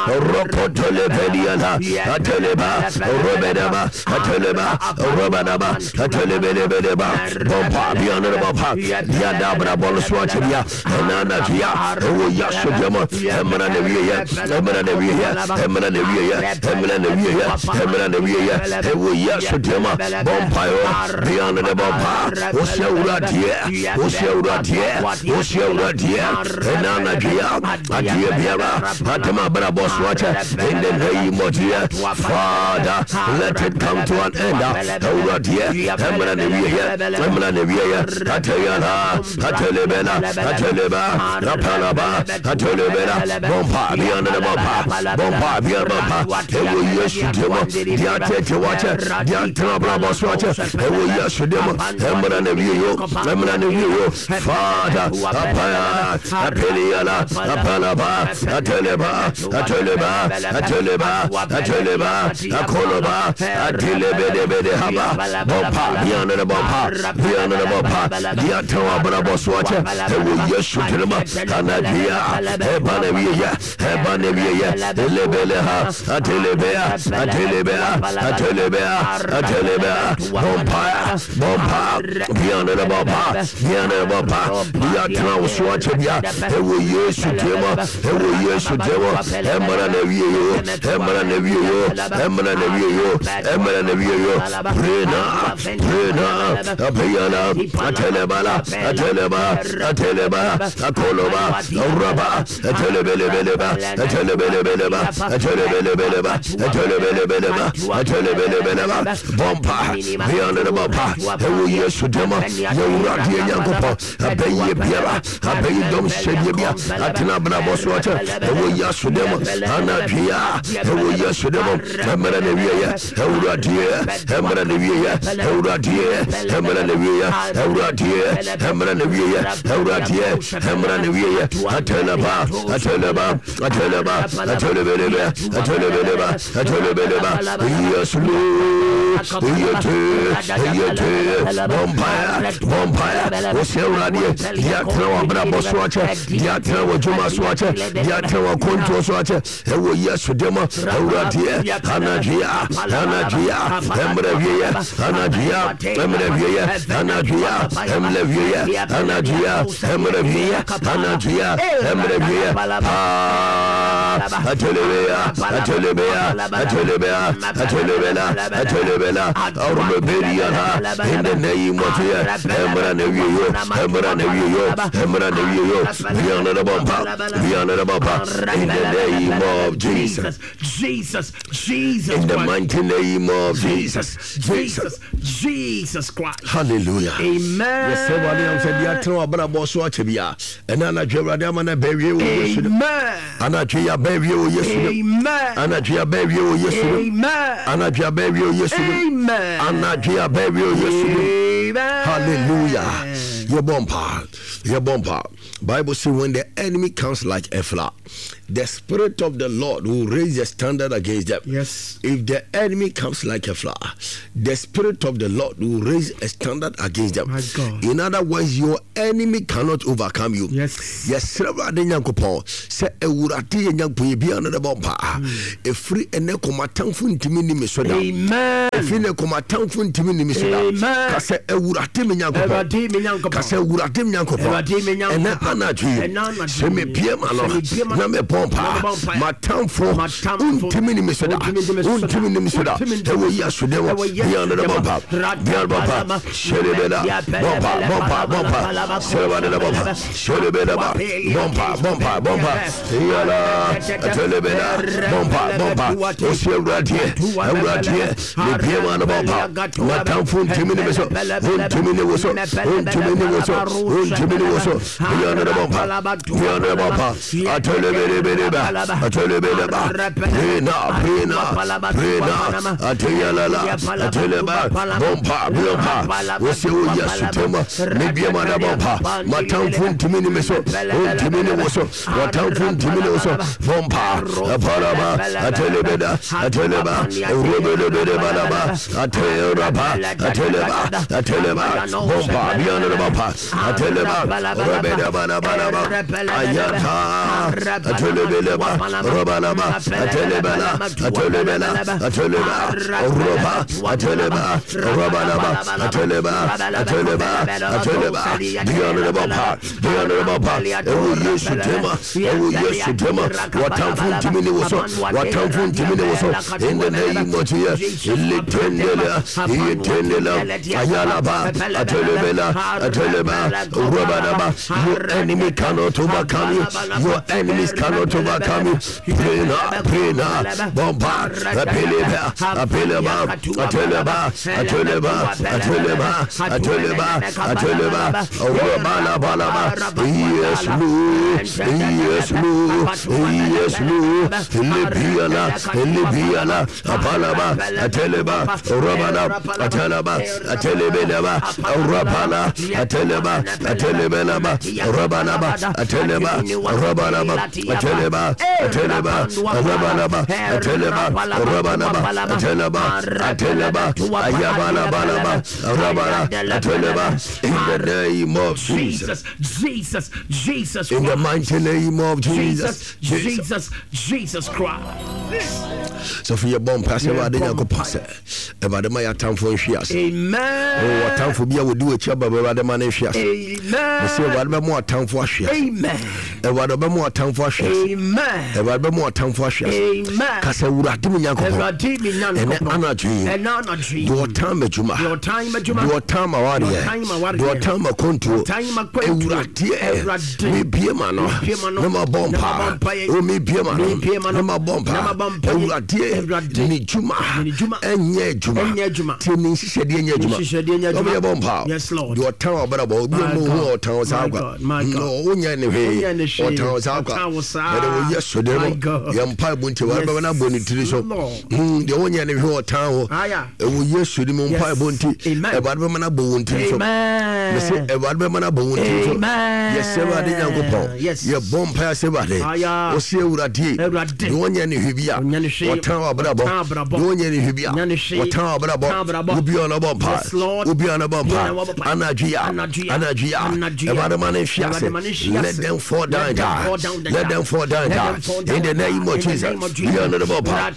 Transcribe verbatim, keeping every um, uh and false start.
Rokotolebediana, Ateleba, Robedaba, Ateleba, Robadaba, Atelebelebeleba, Bompa, Bianaba, Yadabra Boloswachia, Enanajia, Ewo Yasudemo, Emra Nevia, Emra Nevia, Emra Nevia, Emra Nevia, Emra Nevia, Ewo Yasudemo, Bompayo, Bianaba, Oseuradia, Oseuradia, Oseuradia, Enanajia, Adia Biara, Atema Braboswacha, in the name of Jesus, Father, let it come to an end. Awuradeɛ, ɛmmra na wieɛ, ɛmmra na wieɛ, Ateyala, Atelebela, Ateleba, Rapalaba, Atelebela, Bompa, Biana Bompa, Bompa, Biana Bompa, Ewo Yesu demo, Diate Wache, Diantana Braboswache, Ewo Yesu demo, ɛmmra na wieɛ, ɛmmra na wieɛ, Father, Apaya, Apeliala, Apalaba, Ateleba, Ateleba, Ateleba, Ateleba, Akoloba, Atelebedebede Haba, Bompa, Biana Bompa, Biana Bompa, Diatawa Braboswache, Ewo Yesu demo, Anadria, Ebanavia, Ebanavia, Elebeleha, Atelebea, Atelebea, Atelebea, Atelebea, Bompa, Bompa, Biana Bompa, Biana Bompa, Diatawa Swache, Ewo Yesu demo, Ewo Yesu demo, Emra na wie yo, Emra na wie yo, Emra na wie yo, Emra na wie yo, Prena, Prena, Apeyana, Atelebala, Ateleba, Ateleba, Akoloba, Raba, Atelebelebeleba, Atelebelebeleba, Atelebelebeleba, Atelebelebeleba, Atelebelebeleba, Bompa, Biana Bompa, Ewo Yesu demo, Yewurade Nyankopɔn, Abɛyie biara, abɛyi dɔm hyɛdeɛ bia, atena abrabɔ so akyɛ, ɛwɔ Yesu demo, anadwea, ɛwɔ Yesu demo, ɛmmerɛ na wieɛ, Awuradeɛ, ɛmmerɛ na wieɛ, Awuradeɛ, ɛmmerɛ na wieɛ, Awuradeɛ, ɛmmerɛ na wieɛ, Awuradeɛ, ɛmmerɛ na wieɛ, Ateleba, Ateleba, Ateleba, Atelebelebe, Atelebeleba, Atelebeleba, Yesu lo, Yete, Yete, Bompaya, Bompaya, Wɔsɛ Awuradeɛ, deɛ atena wɔ abrabɔ so akyɛ, deɛ atena wɔ dwuma so akyɛ, deɛ atena wɔ akwantuo so akyɛ, ɛwɔ Yesu demo, Awuradeɛ, anadwea, anadwea, ɛmmerɛ wieɛ, anadwea, ɛmmerɛ wieɛ, anadwea, ɛmmerɛ wieɛ, anadwea, ɛmmerɛ wieɛ, anadwea, ɛmmerɛ wieɛ, paa, Atelebea, Atelebea, Atelebea, Atelebela, Atelebela, Arubeliana, in the name of Jesus, ɛmmerɛ na wieɛ, ɛmmerɛ na wieɛ, ɛmmerɛ na wieɛ, Biana the Bompa, Biana the Bompa, in the name of Jesus. Jesus, Jesus, In the Christ. mighty name of Jesus. Jesus, Jesus Christ. Hallelujah. Amen. Yɛsɛ Awurade am sɛ deɛ atena w'abrabɔ so akyɛ bia, ɛna anadwo Awurade ama no abɛwie wɔ Yesu dim. Amen. Anadwo yi abɛwie wɔ Yesu dim. Amen. Anadwo yi abɛwie wɔ Yesu dim. Amen. Anadwo yi abɛwie wɔ Yesu dim. Amen. Anadwo yi abɛwie wɔ Yesu dim. Amen. Hallelujah. Yɛbɔ mpa. Yɛbɔ mpa. Bible says when the enemy comes like a flood, the spirit of the Lord will raise a standard against them. Yes. If the enemy comes like a flood, the spirit of the Lord will raise a standard against them. My God. In other words, your enemy cannot overcome you. Yes. Yɛsrɛ Awurade Nyankopɔn sɛ Awurade yɛ Nyankopɔn yɛ bia no ne bɔ mpa. Ɛfiri ɛnɛ kɔmatamfo ntumi nni me so da. Amen. Ɛfiri nɛ kɔmatamfo ntumi nni me so da. Amen. Ka sɛ Awurade me Nyankopɔn. Awurade me Nyankopɔn. Ka sɛ Awurade me Nyankopɔn. Awurade me Nyankopɔn. Ɛnɛ anadwo yi, Ɛnɛ anadwo sɛ yi, mebie ma no sɛ mebie ma na mebɔ mpa, na mebɔ mpa, matamfo matamfo ntumi nni me so da. ntumi nni me so da. Ntumi nni me so da. Ntumi nni me Ɛwɔ so da. Yesu din mu. Ɛwɔ Yesu Bia no ne din bɔ mu. mpa. Bia no bɔ mpa. Hyɛlebela. Bɔ mpa, bɔ mpa, bɔ mpa. Hyɛlebela bɔ mpa. Hyɛlebela ba. Bɔ mpa, bɔ mpa, bɔ mpa. Yala. Atelebela. Bɔ mpa, bɔ mpa. Ɔsi Awuradeɛ, Awuradeɛ, mebie ma no bɔ mpa. Matamfo ntumi nni me so. Ntumi nni wo so. Ntumi nni wo so. Ntumi nni wo so. Bia no ne bɔ mpa. Bia no ne bɔ mpa. Atelebelebeleba. Atelebeleba. Prena, prena, prena. Ateyalala. Ateleba. Bɔ mpa, bɔ mpa. Wɔsɛ wo Yesu tema. Mebie ma no bɔ mpa. Matamfo ntumi nni me so. Ntumi nni wo so. Matamfo ntumi nni wo so. Bɔ mpa. Apalaba. Atelebeda. Ateleba. Robelebelebalaba. Atelaba. Ateleba. Ateleba. Bɔ mpa. Bia no ne bɔ mpa. Ateleba. Robedabalabalaba. Ayata. Atelebeleba. Atelebeleba, Robalaba, Atelebela, Atelebela, Ateleba, Roba, Ateleba, Robalaba, Ateleba, Ateleba, Ateleba, the honorable part, the honorable part, ɛwɔ Yesu tema, ɛwɔ Yesu tema, watamfo ntumi ne wo so, watamfo ntumi ne wo so, in the name of Jesus, Ilitendela, Ilitendela, Ayalaba, Atelebela, Ateleba, Robalaba, your enemy cannot overcome you, your enemies cannot overcome you. Pray now, pray now, Bomba, Apeleba, Apeleba, Ateleba, Ateleba, Ateleba, Ateleba, Ateleba, Robalabalaba, yes, Lord, yes, Lord, yes, Lord, Libiala, Libiala, Apalaba, Ateleba, Robala, Ateleba, Atelebeleba, Rapala, Ateleba, Atelebeleba, Rabalaba, Ateleba, Rabalaba, Ateleba, Ateleba, Rabalaba, Ateleba, Rabalaba, Ateleba, Ateleba, Ayabalabalaba, Rabala, Ateleba, in the name of Jesus. Jesus, Jesus, Jesus In the Christ. mighty name of Jesus. Jesus, Jesus, Jesus Christ. Sɔfo yɛbɔ mpa sɛ Awurade Yɛbɔ Nyankopɔn sɛ Awurade ma yɛatamfo nhwe ase. Amen. Ɔtamfo bi a wɔdi w'akyi aba Awurade ma no nhwe ase. Mɛsɛ Amen. Awurade bɛma ɔtamfo ahwe ase. Amen. Awurade ɔbɛma ɔtamfo ahwe ase. Amen. Awurade bɛma ɔtamfo ahwe ase. Amen. Kasa Awurade mu Nyankopɔn. Awurade mi Ɛnɛ Nyankopɔn. anadwo yi. Ɛnɛ anadwo yi. Deɛ ɔtan m'adwuma. Deɛ ɔtan m'adwuma. Deɛ ɔtan m'awareɛ. Deɛ ɔtan m'awareɛ. Deɛ ɔtan m'akwantuo. Ɔtan m'akwantuo. Awurade Awurade. mebie ma no. Mebie ma no. Na mabɔ Na mpa. mabɔ mpaeɛ. O mebie ma no. Mebie ma no. Na mabɔ mpa. Na mabɔ mpaeɛ. Awurade Awurade. ne dwuma. Ne dwuma. Ɛnyɛ adwuma. Ɛnyɛ adwuma. Tie ne nhyehyɛdeɛ nyɛ adwuma. Ne nhyehyɛdeɛ nyɛ adwuma. Ɔmo yɛbɔ mpa. Yes, Lord. Deɛ ɔtan w'abrabɔ obi My a ɔmo hu God. ɔtan wo saa My kwa. God. My God. No, wonyɛ ne hwee. Wonyɛ ne hwee. Ɔtan wo saa kwa. Ɔtan wo saa. Ɛde wo yɛ so de My no. God. Yɛn mpa ebu nti wɔn bɛbɛ na bɔ ne tiri so. Lord. Hmm, deɛ wonyɛ ne hwee ɔtan wo. Aya. Ɛwɔ Yesu ni mu mpa Yes. ebu nti. Amen. Ɛwurade bɛma na bɔ wɔn tiri so. Amen. Mese Awurade bɛma no abɔ wo tiri so. Amen. Yɛsɛ Awurade Nyankopɔn. Yes. Yɛbɔ mpaeɛ sɛ Awurade. Aya. Ɔse Awurade. Awurade. Deɛ ɔnyɛ ne hwee bi a. Ɔnyɛ ne hwee. Ɔtan w'abrabɔ. Ɔtan abrabɔ. Deɛ ɔnyɛ ne hwee bi a. Ɔnyɛ ne hwee. Ɔtan w'abrabɔ. Ɔtan abrabɔ. Obi a ɔnabɔ mpa. Yes, Lord. Obi a ɔnabɔ Obi a mpa. ɔnabɔ mpa. Anadwo yi a. Anadwo yi a. Anadwo yi a. Anadwo yi a. Awurade ma no nhwe Awurade ase. ma no nhwe Let ase. them fall down Let them die. fall down and Let die. them fall down Let die. them fall down In the and die. name of In the Jesus. name of Jesus. Obi a ɔnabɔ mpa.